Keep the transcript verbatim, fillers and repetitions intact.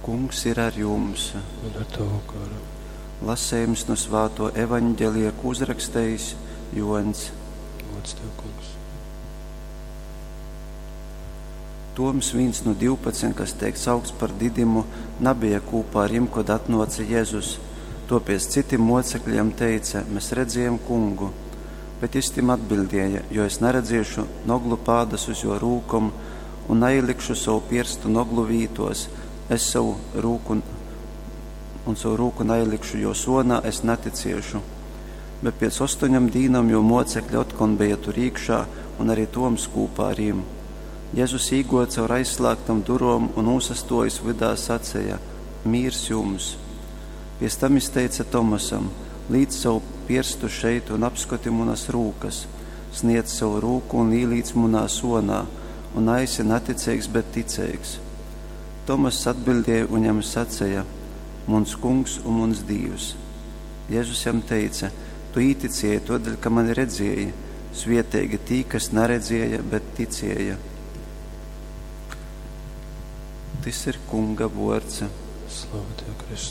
Kungs ir ar jums. Un ar tavu garu. Lasējums no svāto evaņģelija, ko uzrakstījis Joans. Gods tev, kungs. Toms, viens no divpadsmit, kas tiek saukts par Didimu, nabija kūpā ar jim, kad atnāca Jēzus. Topies citiem mocekļiem teica: Mēs redzējām kungu. Bet jis tim atbildēja: Jo es neredzēšu noglu pādas uz jo rūkom un neielikšu savu pirstu noglu vītos, es savu rūku un savu rūku neielikšu jo sonā, es neticiešu. Bet pēc astoņam dīnam jo mocekļi otkon bija tur iekšā un arī Toms kūpā ar jim. Jēzus īgoja caur aizslēgtam durom un ūsastojas vidā sacēja: Mīrs jums! Pies tam izteica Tomasam: Līdz savu pirstu šeit un apskati munas rūkas, sniedz savu rūku un īlīdz munā sonā, un aisi neticīgs, bet ticīgs. Tomass atbildēja un jam sacēja: Muns kungs un muns Dievs. Jēzus jam teica: Tu īticēji todēļ, ka mani redzēji, svietīgi tī, kas neredzēja, bet ticēja. Tis ir kunga vords. Slava tev, Kristus.